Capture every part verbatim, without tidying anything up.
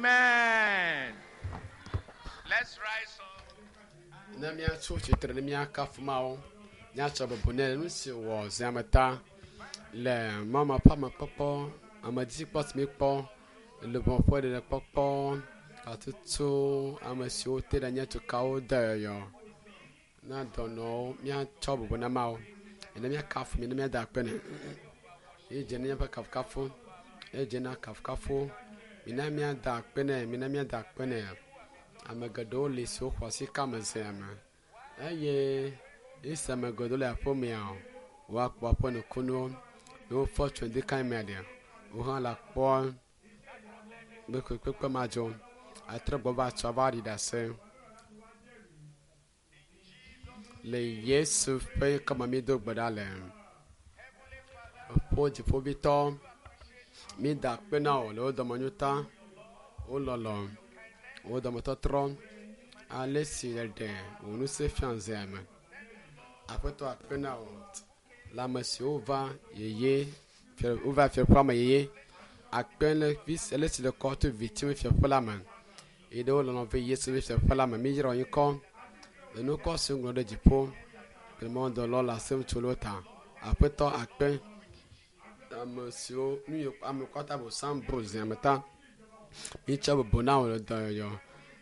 Amen. Let's rise up. Ne míatso tsitre ne míakafu Mawu, míatsɔ bubu nɛ le nu si wɔ zãme ta le mama ƒe amekpɔkpɔ, amedzikpɔ si míkpɔ, luʋɔ ƒe ɖeɖekpɔkpɔ, gatutu ame siwo te ɖe nye tukawo de yɔyɔ na dɔnɔwo míatsɔ bubu na Mawu. Ne míakafu mi ne míada akpe nɛ. Ye dze na míaƒe kafukafu, ye dze na kafukafu. Mina míada akpe nɛ, mina míada akpe nɛ. Ame geɖewo li siwo xɔ asi ka me zea me eye esi ame geɖewo le aƒemea woakpɔ woƒe nukunuwo ne wofɔ tso ŋdi mea ɖe wo hã le kpɔ be kpekpe ma dzɔ atrɔ gbɔ va tsɔ va ɖi ɖase le Yesu ƒe ŋkɔme mi do gbe ɖa le ƒo dziƒovitɔ mi da akpe na wò le wo dɔmenyo ta wo lɔlɔ wo dɔmetɔtrɔ ale si ɖeɖe wò ŋusẽ fia zea me aƒetɔ akpe na wò le ame siwo va yeye wova fiaƒea me yeye akpe le vi ele si le kɔ to vitiwo fiaƒe la me eye ɖewo lɔlɔ ve Yesu ƒe fiaƒe la me mi yra wo ŋkɔ le nukɔ si ŋlɔ ɖe dziƒo kple mɔdɔlɔ le asem tso wo ta aƒetɔ akpe ame siwo nu yi ame kɔta bosam bo zea me ta mitsɔ bubu na wò le dɔyɔyɔ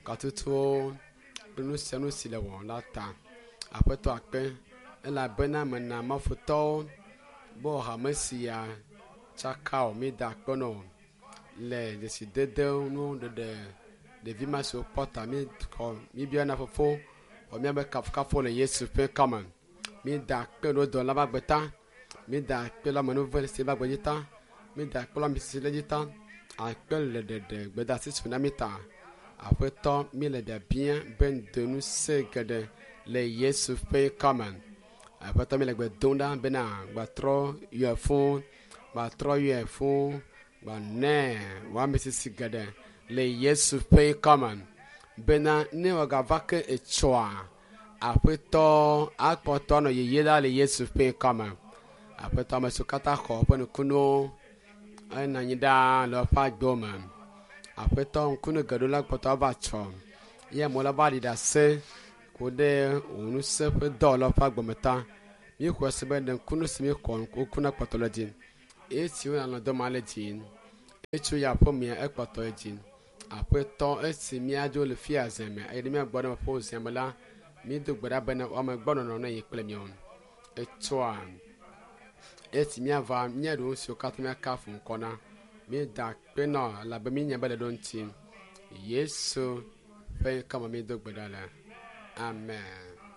katutuwo kple nu sia nu si le wɔ la ta aƒetɔ akpe elabena mena mafutɔwo be hame sia tsaka o mi da akpe na wò le dzesidede nu ɖeɖe ɖevi ma siwo kpɔ ta mi xɔ mi bia na fofo xɔ míabe kafukafu le Yesu ƒe ŋkɔme mi da akpe ɖe dɔla ƒe agbe ta mi da akpe le amenuve si ƒe agbe dzi ta mi da akpe le ame si le dzi ta akpe le ɖeɖe gbedeasi si na mi ta aƒetɔ mi le biabia be ŋdo ŋusẽ geɖe le Yesu ƒe ŋkɔme aƒetɔ mi le gbe dom ɖa bena gbatrɔ yɔe fũ gbatrɔ yɔe fũ gbanɛ wò sisi geɖe le Yesu ƒe ŋkɔme bena ne wòagava ke etsɔa aƒetɔ akpɔtɔ anɔ yeye la le Yesu ƒe ŋkɔme aƒetɔ ame siwo katã xɔ woƒe nukunuwo enɔ anyi ɖaa le woƒe agbewo me aƒetɔ ŋkunu geɖewo la kpɔtɔ ava tsɔ ye amewo la va ɖi ɖase ku ɖe wò ŋusẽ ƒe dɔ le woƒe agbeme ta míexɔe se be ɖe ŋkunu si míexɔ ŋku na kpɔtɔ le dzi esi wonɔ dɔ ma le dzi etso ya aƒemea ekpɔtɔ le dzi aƒetɔ esi míadzo le fia zeme eye ne míagbɔ ɖe ƒe zeme la mído gbe ɖa bena woame gbɔ nɔnɔ ne yi kple míawo etsɔa esi míava míaɖo nu siwo katã míakafu ŋkɔ na míeda akpe nɔ elabe míenya be le ɖo ŋuti Yesu ƒe ŋkɔme mído gbe ɖa le amen.